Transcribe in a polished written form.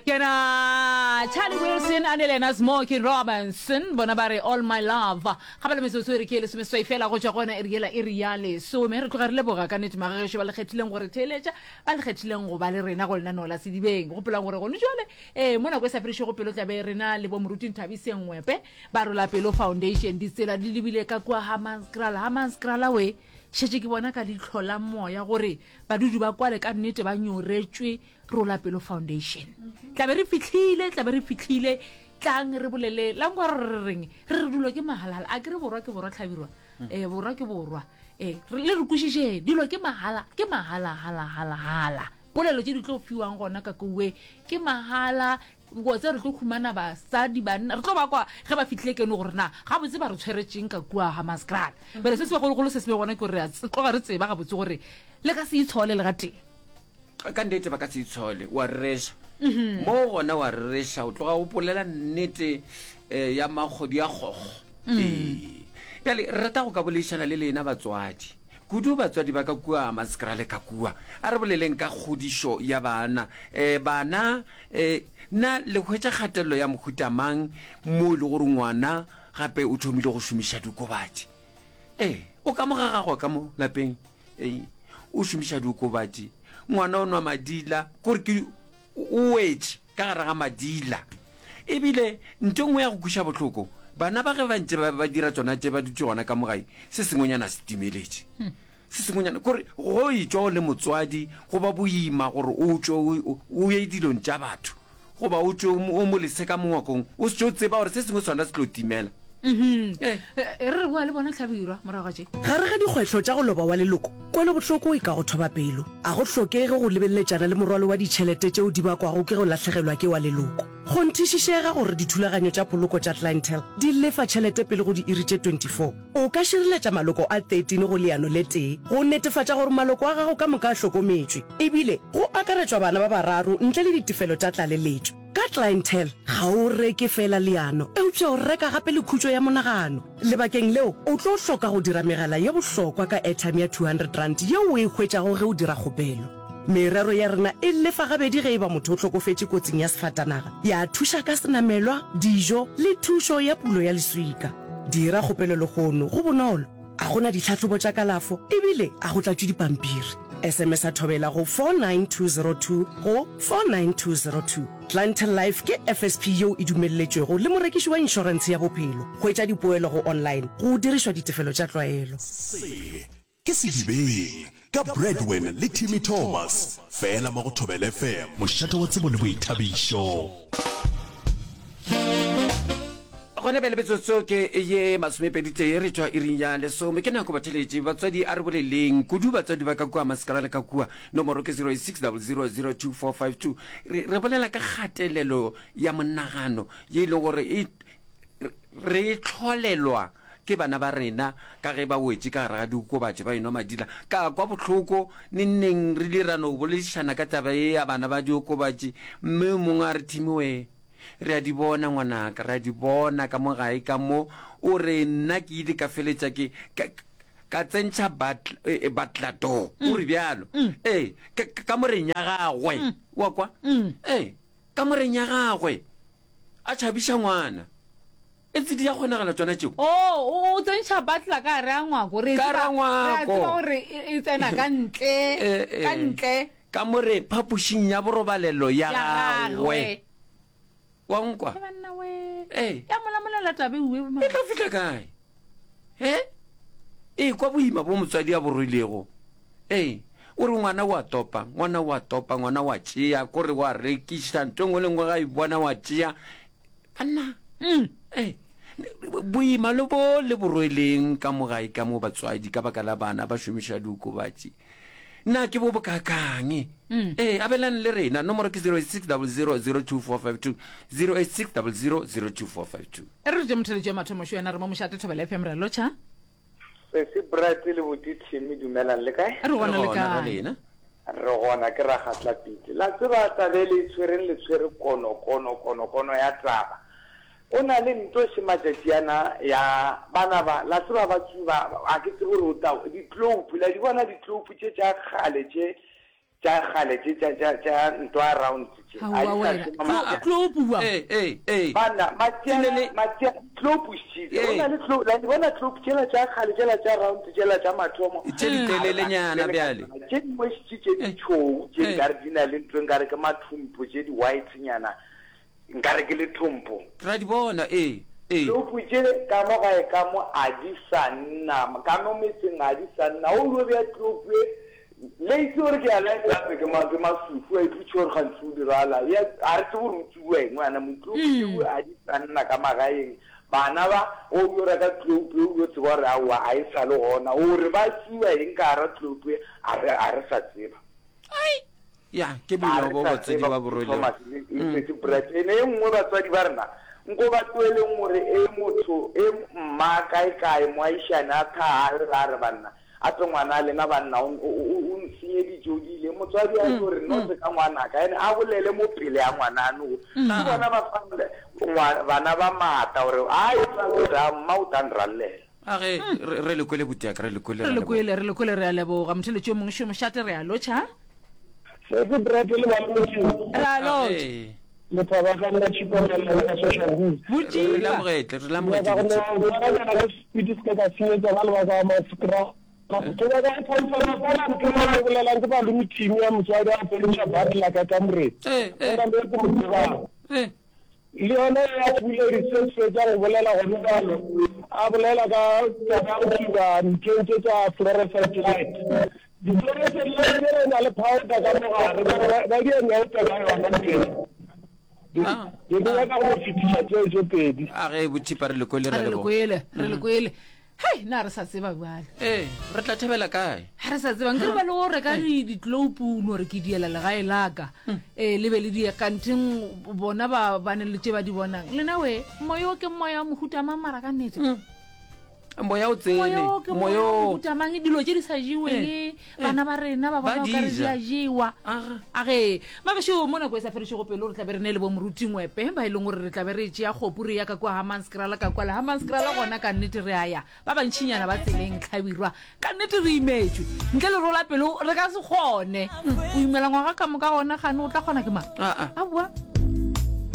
Kena Charlie Wilson a ne le yena Smokey Robinson bona ba re All My Love. Ga ba le metsotso e re ke e lesomeseswai fela go tšwa go yona iri yela iri ya lesome. Re tloga re leboga ka nnete magagešo ba le kgethileng go re theeletša, ba le kgethileng go ba le rena go lenaneo la Sedibeng. Gopolang gore gone jwale ee mo nako e sa fedišego pelo tla be rena le bo Moruti Nthabiseng Ngwepe ba Rola Pelo Foundation. Ditsela di lebile ka kua Hammanskraal. Hammanskraal we šetše ke bona ka leihlo la moya gore badudi ba kwale ka nnete ba nyoretšwe Rola Pelo Foundation. Tla be re fihlile, tla be re fihlile. Tlang re bolele, la nkwa re re reng? Re re dilo ke mahalala. A ke re borwa ke borwa tlhabirwa. Eh borwa ke borwa. Eh le re kwešišeng, dilo ke mahala, ke mahala hala hala hala. Polelo tše di tlo fiwang gona ka kowe ke mahala. Wa tseba re tlo humana basadi banna re tlo ba kwa ge ba fihlile keno gore na gabotse ba re tshweretšeng ka kua Hammanskraal. Bjale se se bagologolo se se be gona ke gore re a tloga re tseba gabotse gore le ka se itshole le gatee. Ka nnete ba ka se itshole, wa rereša. Mo gona wa rereša, o tloga o bolela nnete eh, ya makgodu ya kgokgo. Ee. Bjale re rata go ka boledišana le lena batswadi, kudu batswadi ba ka kua Hammanskraal ka kua. A re boleleng ka kgodišo ya bana. Eh, bana, eh, na le hwetša kgatelelo ya mohuta mang mo e le gore ngwana gape o thomile go šomiša diokobatši? Ee, o ka mo ga gagwe ka mo lapeng. Ee, o šomiša diokobatši. Ngwana o nwa madila, kore ke o wetše ka gare ga madila. Ebile nto nngwe ya go kweša bohloko, bana ba ge ba ntše ba, ba dira tšona tše ba dutše gona ka mo gae, se sengwenyana se timeletše. Se sengwenyana, kore go etšwa o le motswadi go ba boima gore o tšwe o, o ye dilong tša batho. Goba o tšwe o mo lese ka mo ngwakong, o se tšo tseba gore se sengwe sona se tlo timela. Ee. E re re boa le bona Hlabirwa morago ga tše. Gare ga dikgwetlho tša go loba wa leloko, kwelobohloko e ka go thoba pelo. A go hlokege go lebeleletšana le morwalo wa ditšhelete tšeo di bakwago ke go lahlegelwa ke wa leloko. Kgonthišišega gore dithulaganyo tša poloko tša Clientele di lefa tšhelete pele go diiri tše 24. O ka šireletša maloko a 13 go leano le tee go netefatša gore maloko a gago ka moka a hlokometšwe, ebile go akaretšwa bana ba bararo ntle le ditefelo tša tlaleletšo. Ka Clientele, ga o reke feela leano, eupša o reka gape le khutšo ya monagano. Lebakeng leo, o tlo hloka go dira megala ye bohlokwa ka airtime ya R200 yeo o e hwetšago ge o dira kgopelo. Merero ya rena e lefa gabedi ge e ba motho o hlokofetše kotsing ya sefatanaga, ya thuša ka senamelwa, dijo le thušo ya pulo ya leswika. Dira kgopelo lehono, go bonolo, a go na ditlhahlobo tša kalafo ebile a go tlatšwe dipampiri. SMS-a Thobela go 49202 go 49202. Clientele Life ke FSP yeo e dumelletšwego le morekiši wa inšorentshe ya bophelo. Hwetša dipoelo go online go dirišwa ditefelo tša tlwaelo. Se ke Sedibeng ka Bradwin le Timmy Thomas, fela mo go Thobela FM. Mošate wa tsebo le boithabišo. Gona bjale metsotso ke ye masomepeditee re tšwa iring ya lesome. Ke nako batheletši, batswadi a re boleleng, kudu batswadi ba ka kua Mascara le ka kua. Nomoro ke 0600022452. Re, re bolela ka kgatelelo ya monagano ye e leng gore e, re e tlholelwa Ke bana ba rena, ka ge ba wetše ka gare ga diokobatši ba enwa madila. Ka kwa bohloko nengneng re ile ra no boledišana ka taba ye ya bana ba diokobatši, mme yo mongwe a re, Timmy wee, re a di bona ngwanaka, re a di bona ka mo gae ka mo. O re nna ke ile ka feletša ke, ka, ka tsentšha batl, eh, butler door, o re bjalo, ee, ka, ka kamoreng ya gagwe, wa kwa? Ee, kamoreng ya gagwe, a tšhabiša ngwana. Etse di a kgonagala tšona tšeo? Oh, o, o tsentšha butler ka gare ga ngwako. Re Ka gare ga tseba, re a ngwako. tseba gore e, e tsena ka ntle, Eh, eh. ka ntle. Ka more phapošing ya borobalelo ya Ya gagwe. gagwe. Wa nkwa? He banna we. Ee. Ya molamolela tabe uwe. E tlo fihla kae? He? E kwa boima bo motswadi a bo rwelego. Ee. O re ngwana o a topa, ngwana o a topa, ngwana o a tšea, kore wa rekiša, ntho e nngwe le nngwe ga e bona wa tšea. Banna, ee, boima le bo le bo rweleng ka mo gae ka mo batswadi ka baka la bana ba šomiša diokobatši, na ke bo bokaakang? Ee, abelang le rena. Nomoro ke 0860002452, 0860002452. E re re tše motheletši wa mathomo šo yena re mo mošate Thobela FM re a lotšha. Sesi Brad le buti Timmy dumelang le kae? Re gona le Re gona, kae? lena. Re gona ke Ragatla Pitse. La tseba taba e le e tshwereng le tshwere kono kono kono kono ya taba. O na le nto še matšatši ana ya bana ba la tseba ba tsuba a ke tsebe gore o tla di-clope la di bona di-clope tše tša kgale tše. Tša kgale tše tša tša tša ntwa round tše. A Aowa di sa wena. šoma Tlo matšatši. tlo bua. Ee, ee, ee. Banna, Ke ne matšeana, le- matšea, tlopu šitše. Go Ee. na le tlo, la di bona tlopu tšela tša kgale tšela tša round tšela tša mathomo. Tše di telelenyana bjale. Tše dingwe šitše tše di tšhou, tše Ee. nkare di na le ntho nkare ke mathumpo, tše di white nyana, nkare ke lethompo. Ra di bona, ee, ee. Tlopu tše ka mo gae ka mo a di sa nna, ka mo metseng a di sa nna. O yo bea tlopu e, Le itse gore ke a laetsa gape ke ma ke masufu a ipotše gore gantsi o dirala ya a re tsebe gore o tsubiwa eng ngwana motlopu tšeo a di sa nna ka magaeng bana ba o yo reka tlopu o yo tseba gore aowa a e sa le gona gore ba tsuba eng ka gara tlopu e a re a re sa tseba. Ai ya ke A boima re bo sa batswadi tseba ba bo rwelego. Thomas le le Brett ene e nngwe batswadi ba rena nko ba tloeleng gore e motho e mma kae kae moaishane a tha a lla a re banna Gape ngwana lena banna o, o, o, o nsenyeditše, o diile. Motswadi a tlo re, No se ka ngwanaka. Ene a bolele mo pele ya ngwanano. Ke bona ba fang ngwa, bana ba maatla gore, Ai, gore a mma o tla nrallela. A ge, re, re le kwele butiaka, re le kwele, Re re le leboga. kwele, re le kwele, re a leboga. Motheletši yo mongwe šo mošate, re a lotšha. Sesi Brett le Malome Re a lotšha. Age. Lethaba ka nna Tšhipa Mela ka Social News. Re Botšipa. lamogetle, re lamogetše Nyaka go no Botšipa. ngwalanyana ka sepiti se ka senyetsa ba le ba ka Masekra. Ke nyaka go confirma fela ntho e le bolelang ke malome Timmy ya motswadi a feleša butler ka kamoreng. Eh, eh. Go na le e ke mo tsebang. Eh. Le yona ya Puledi se fetša go bolela gone bjalo, a bolela ka taba ya go tsuba nthong tše tša fluorescent light. Di-fluorescent light tšela e na le powder ka mo gare, ba re ba di a nyaope ka yona ntho ela. Ah, Ke ke nyaka go fetiša tseo tše pedi. A ge Botšipa re le kwele, re Re le leboga. kwele, re le kwele. Hei, na re sa tseba bjale. Ee, re tla thabela kae? Ga re sa tseba, nkere ba le go reka di ditloupu no re ke diela legae la ka. Ee, le be le di kanteng bona ba ba ne le tše ba di bonang. Lena we, moya o ke moya wa mohuta mang mara ka nnete? Moya o tsene, Moya o ke moya moya wa o. mohuta mang? Dilo tše di sa jeweng, bana ba rena ba Ba bona o di ka re di ja. a jewa. Aga. A ge, magešo mo nako e sa fedišego pelo re tla be re ne le bo moruti Ngwepe ba e leng gore re tla be re tšea kgopu re ya ka kua Hammanskraal ka kua le Hammanskraal gona ka nnete re a ya ba bantšinyana ba tseleng Hlabirwa ka nnete re imetšwe ntle le rola pelo re ka se kgone o imela ngwaga ka moka gona gane o tla kgona ke mang Aa. aowa.